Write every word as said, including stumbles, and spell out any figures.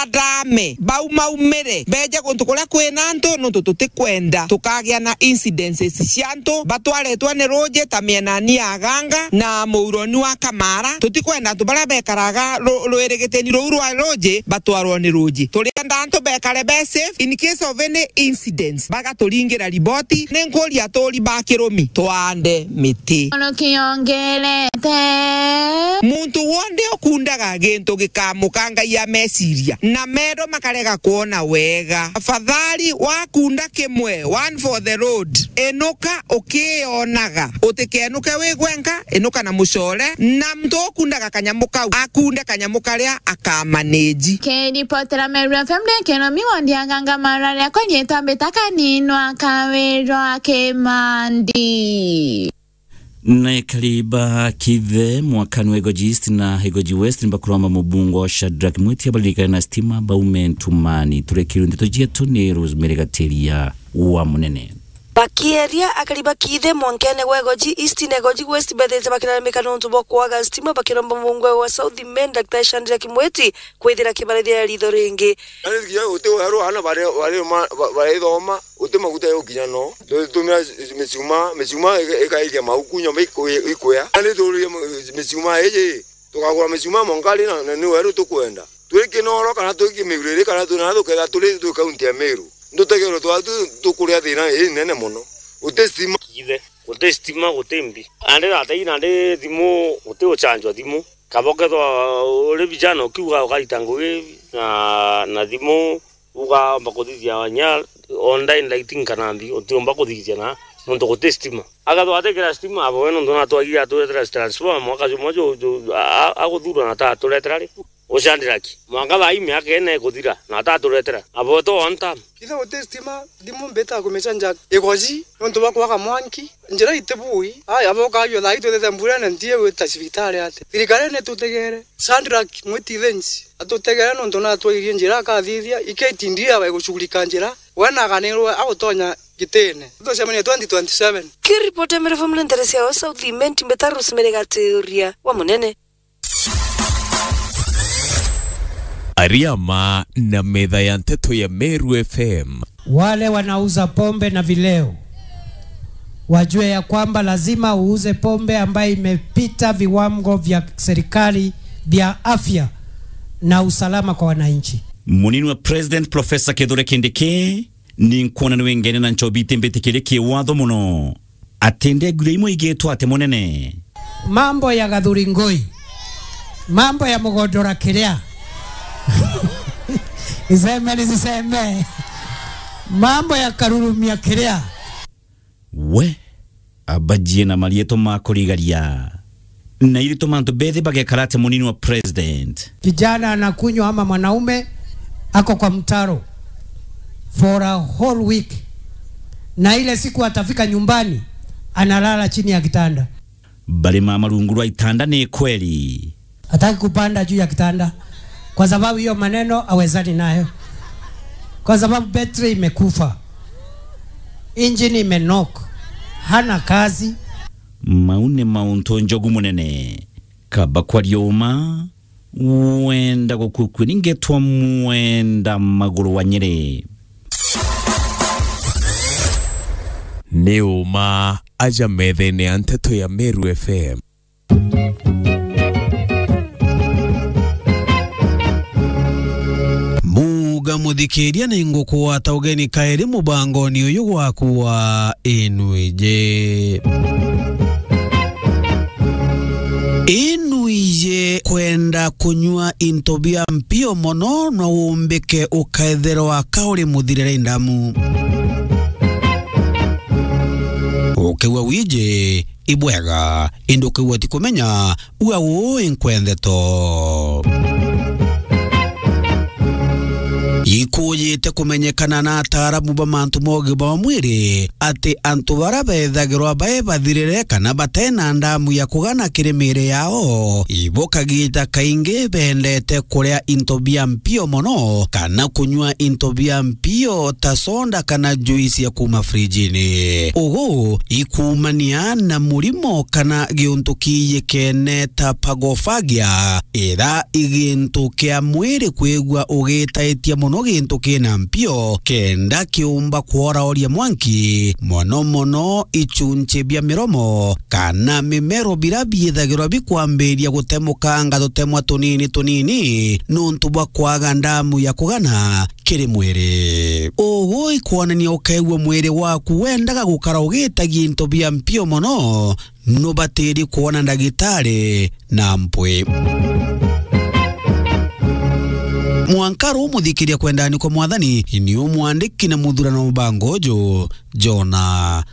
Adame, baumaumire, beje guntu kuria kwina antu, nontu tutikwenda tukagia na incidences cia antu batwaretwe ni ruuji ta mienani ya Ganga na muuroni wa Kamara. Tutikwenda antu baria bekaraga ru-, rwirigitini ruu rwa ruuji batwarwe ni ruuji. Turienda antu bekare be safe in case of any incidents, bagaturingira riboti. Ni nkuria aturi ba kirumi twande miti. Ono kiongerete. Muntu wonthe ukundaga gintu gikamukangaia meciria, na mendo makarega kwona wega. Afadhali wakunda kimwe, one for the road, inuka ukionaga. Utikenuke wi gwenka, inuka na mucore, na muntu ukundaga kanyamu kau, akunde kanyamu karia akamanage. Kiripotera Meru F M, ndi Kenomi Wandi Aganga, marari akwa nyitwa Mbita Kaninwa Kawirwa Kimandi. Na ekari ba Kithe mwakani wa Igoji East na Igoji West nibakuromba mubunge wa Shadrack Mwiti abaririkane na stima baume ntumani. Turekirwe ndeto cietu ni Rosemary Gatiria wa Munene. Bakieria akari ba Kithe mwankene wa Igoji East na Igoji West bethirite bakiraramika nontu bwa kwaga stima, bakiromba mubunge wa South Imenti Daktari Shadrack Mwiti kwithira akibarithia ritho ringi. Nani kinya uti weru ana bare, bare ma, ba, barithoma, uti maguta yukinya no. Tu-, tumira micuma, micuma ika-, ikaikia mauku nyomba iku-, ikwea. Nani tururie mu-, micuma iji, tukagura micuma monkari na, na ni weru tukwenda. Twi Kinoro kana twi Kimiguriri kana twi na tuketha turi twi kaunti ya Meru. Ndutegerwe twa tu-, tukuria thina inene mono. Uti stima. Ithe, guti stima, guti mbi. Nandi tata ii nandi thimu, guti guchanjwa thimu. Kaba ukethwa uri vijana ukiuga ukarita ngugi na, na thimu, ukaomba kuthithia nya online lighting kana mbi, utiumba kuthithia na nontu guti stima. Akethwa atikira stima, abo we nontu natwagire aturetera transformer mwaka jumwe ju, ju, a, a, aguthurwa na ta aturetera ri? Ucandira ki? Mwanka thaa ii miaka ina ikuthira, na ta aturetera. Abo we to one term. Ithe guti stima, thimu mbita kumicanja Igoji, nontu bwa kwaga mwanki. Njira itibui. Aya, abo ukajua thaa ii twithite mburene ntie gwita cibitari ati. Thirikari ni tutegere. Shadrack Mwiti Thenji, atutegere nontu natwairie njira akathithia, iketi ndia baigucugurika njira, we naganirwe agutonya gitine. Tucemanie twenty twenty-seven. Kiripoti ya Meru F M nteresia wa South Imenti, Mbita Rosemary Gatiria wa Munene. Ariama na metha ya nteto ya Meru F M. Wale wanauza pombe na vileo wajue ya kwamba lazima uuze pombe ambayo imepita viwango vya serikali vya afya na usalama kwa wananchi. Munini wa President Professor Kithure Kindiki, ni nkwona ni wengene na nchobi itimbitikirie kiwatho mono. Atindegwire imwe igitwa ati munene. Mambo ya Gathuri Ngui. Mambo ya Mugondora Kiria. Iseme ni ziseme. Mambo ya Karurumia Kiria. We, abajie na marietwa ma kurigaria. Na irituma antu bethi bagekara ati munini wa president. Kijana anakunywa ama mwanaume ako kwa mtaro for a whole week, na ile siku atafika nyumbani analala chini ya kitanda. Bari mama rungu rwa itanda ni kweli. Hataki kupanda juu ya kitanda kwa sababu hiyo maneno hawezani nayo, kwa sababu betri imekufa, injini imenock, hana kazi. Mau ni mauntu njogu munene. Kaba kwaria uma, wenda gukukua ni ngetwa Mwenda Maguru wa Nyeri. Ni uma aja methene ya nteto ya Meru F M. Muga muthikiria ni ngukugwata ugeni kairi mubangoni uyu gwaku wa Inuije. Inuije kwenda kunyua into bia mpio mono no umbike ukaethirwa ka uri muthirire ndamu. Ukiua wiji, ibwega, indi ukiua ti kumenya, ua uu inkwendeto. Iku ujite kumenyekana na ataaramu ba mantu ma ugima bwa mwiri ati antu bara bethagirwa bae bathirire kana batena ndamu ya kugana kiri miiri yao, ibo kagita kaingi bendete kuria into bia mpio mono kana kunyua into bia mpio ta soda kana juice ya kuma frijini. Ugu ikumania na murimo kana giuntu kiiyikene ta phagofagia, ira i gintu kia mwiri kwigua ugitaitia mono gintu kina mpio, kenda kiumba kworaoria mwanki, mono mono ichunchi bia miromo kana mimero bira biithagirwa bikwambiria gutemukanga tutemwa tunini tunini nuntu bwa kwaga ndamu ya kugana kiri mwiri. Ugu ikwonania ukeegua mwiri waku wendaga gukara ugitagia into bia mpio mono, nubatiri kwona ndagitari na mpwi. Mwanka ru muthikiria kwendani kwa Mwathani, ni umwandiki na muthurano mubango uju, Jona